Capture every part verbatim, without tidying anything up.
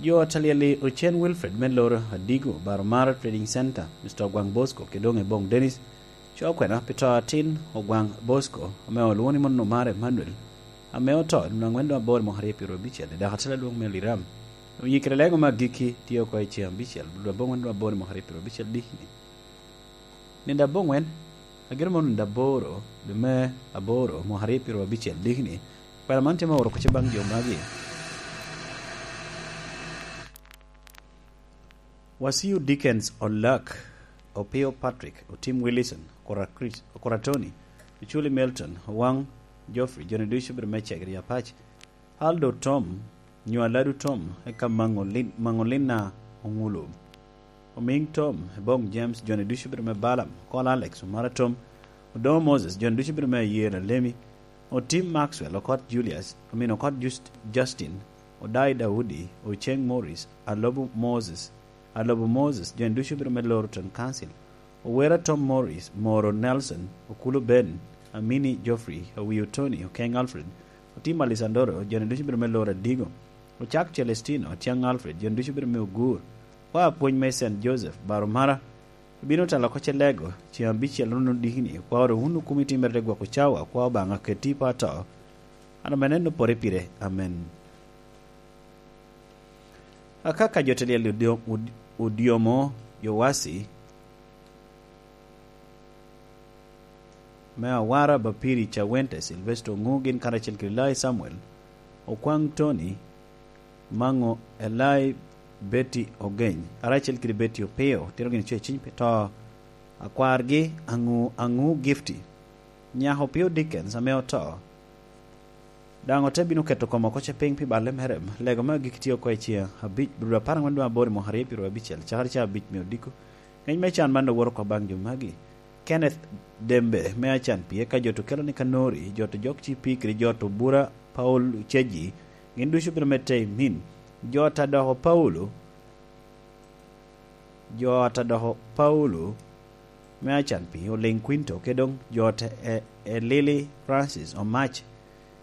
Jo a talyel-li ocen Wilfred me loro Adigo, Baromara Trading Center, Mister Ogwaŋ Bosco, kede doŋ Ebong Dennis, co kwena pi to atin Ogwaŋ Bosco, ame olwoŋo ni mano Omar Emmanuel, ame oto i nino aŋwen doŋ aboro i mwaka aryo pyeraryo abicel, i dako atel adwoŋ me Liram. Oyikere lego me agikki tye oko i ceŋ abicel, dwe aboŋwen doŋ aboro i mwaka aryo pyeraryo abicel diki-ni. Nino aboŋwen, agire mano nino aboro, dwe me aboro, mwaka aryo pyeraryo abicel diki-ni, kwena man tye me oro kuc baŋ jo magi. Wasiu Dickens Olak, Opio Patrick, Otim Willison, Okora Chris, Okora Tony, Oculi Milton, Owaŋ Geoffrey, joni ducu bedo me Cegri Apac, Aldo Tom, nyo Aladu Tom, eka Maŋolin-, Maŋolina Oŋulu, Omiŋ Tom, Ebong James, joni ducu bedo me Balaam, Okol Alex, Omara Tom, Odoŋo Moses, joni ducu bedo me Ayee Lalemi, Otim Maxwell, Okot Julius, Omin Okot Just-, Justin, Odai Daudi, Oceŋ Morris, Alobo Moses, Alobo Moses, joni ducu bedo me Loroton Council, Owera Tom Morris, Moro Nelson, Okulu Ben, Amini Geoffrey, Owio Tony, Okeŋ Alfred, Otim Alessandro, joni ducu bedo me Loro Adigo, Ocak Celestino, Atiaŋ Alfred, joni ducu bedo me Ogur, oa apwony me Saint Joseph, Baromara, obino telo oko ce lego, ceŋ abicel runo diki-ni, okwao wunu kumi timere te gwoko cawa, okwao Obaŋa keti i po ato, an ame neno pore pire. Amen. Aka ka jo te lyel odio-, od-, odiomo Yowasi, me Awara, Bapiri Cawente, Silvesto Oŋu, gin karacel kede Lai Samuel, Okwaŋ Tony, Maŋo Elai, Betty Ogeny, karacel kede Betty Opio, tito gin co i ciny pi to akwargi, Aŋu, Aŋu Gifty, nyako Opio Dickens ame oto, daŋ ote bino keto kome oko ce piny pi balle mere. Lego me agikki tye oko i ceŋ abic, dwe apar aŋwen doŋ aboro i mwaka aryo pyeraryo abicel, cakere ca abic me odiko. Ŋec me can man owoto oko baŋ jo magi: Kenneth Dembe me Acan Pie, ka jo to kelo ni Kanori, jo to jok ci pikri, jo to bura Paul Ceji, gin ducu bino medde i min. Jo ta doko Paulo, jo ta doko Paulo me Acan Pie, Oliŋ Quinto, ke doŋ jo ta e, e Lili Francis Omac,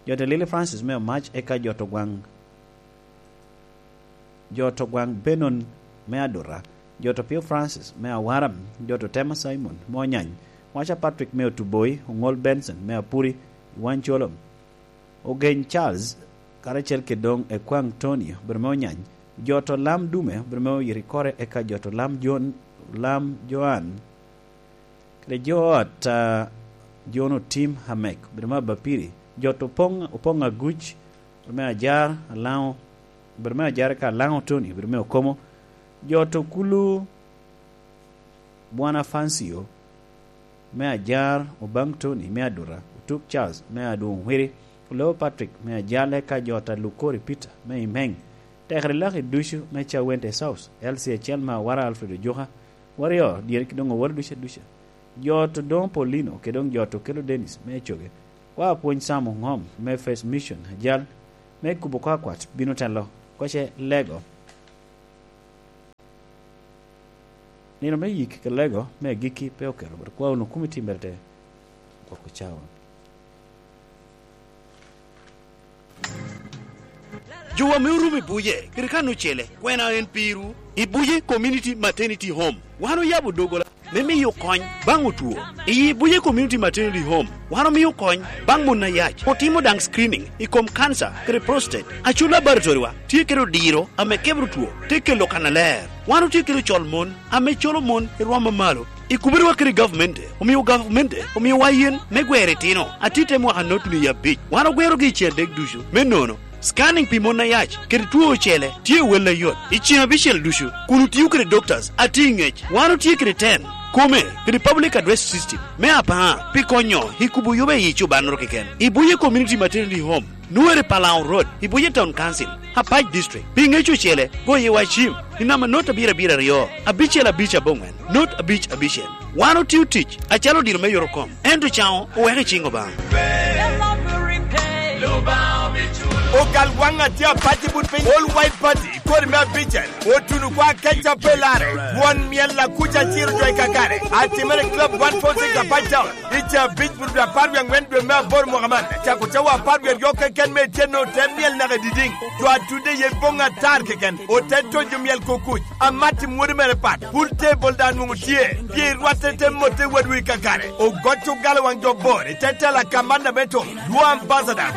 jo ta Lili Francis me Omac, eka jo to gwaŋ jo to gwaŋ Benon me Adura, jo to Pio Francis me Awaram, jo to Tema Simon me Onyany, Waca Patrick me Otuboi, Oŋol Benson me Apuri, Iwan Colom, Ogeny Charles, karacel kede doŋ Ekwaŋ Tony, obedo me Onyany, jo to Lam Dume, obedo me Oyirikore, eka jo to Lam Jon-, Lam Joan, kede jo ot, ah, Jon Otim Amek, obedo me Abapiri, jo to Opoŋ, Opoŋ Aguc, obedo me Ajar, Alaŋo, obedo me Ajar ka Alaŋo Tony, obedo me Okomo, jo to Kulu Bwana Fancio me Ajar, Obaŋ Tony me Adura, Otuk Charles me Adwoŋ Wiri, Oloo Patrick me Ajale, ka jo ta Lukori Peter me Imeŋ, tekere laki ducu me Cawente South, L C acel me Awara Alfred Ojuka, Warrior, dyere ki doŋ owal ducu aduca. Jo to doŋ Paulino, kede doŋ jo to kelo Dennis me Coge. Wa apwony Sam Oŋom me First Mission, ajal me kubo kwakwat bino telo, koce lego. Nino me yik ke lego me agikki pe oketo, but kwa wunu kumi timere te gwoko cawa. Jowa me Orumo i Buje, kede kan ocele, kwena en pirwu? I Buje Community Maternity Home, wan oyabo dogola me miyo kony baŋ otwo. I Buje Community Maternity Home, wan omio kony baŋ mon ayac, otimo daŋ screening i kom kanca kede prostate. Acul laboratory-wa tye kede odiro ame kebro two, te kelo kannaler. Wan otye kede ocol mon ame colo mon i rwom amalo. I kubere wa kede gavmente, omio gavamente omiowa yen me gwero itino. Atit te mwaka notuni i abic. Wan ogwerogi i cen adek ducu. Me nono, scanning pi mon ayac kede two ocele tye wel ayot i cen abicel ducu, kun otio kede doctors atye i ŋec. Wan otye kede ten kome kede public address system me apar pi konyo i kubo yoba i cobannoro keken. I Buje Community Maternity Home, Nuere Palau Road, i Buje Town Council, Apac District. Pi ŋec ocele, goye wa cim i namba not abiro abiro aryo, abicel abic aboŋwen, not abic abicel. Wan otio tic acalo odiro me yorokom, ento caŋo oweko i ciŋ Obaŋa. Ogal waŋ atye apac i but piny. All White Party, kodi me abicel, otuno kwa keca pe lare. Won myel akuca ciro jo i kakare. Atimere Club one four six Apac Town. I ca abic but dwe apar wie aŋwen dwe me aboro mwaka man. Cako cawa apar wie aryo keken me ityen ote myel naka i didiŋ. Jo atudde ye boŋ atar keken. Ote tojo myel kukuc. Amat i mwodi mere pat. Pool table daŋ nwoŋo tye. Pye rwatte te motte wadwu i kakare. Ogoc ogalo waŋ jo bor. I te tela kamanna me tum. Dwo ambassador.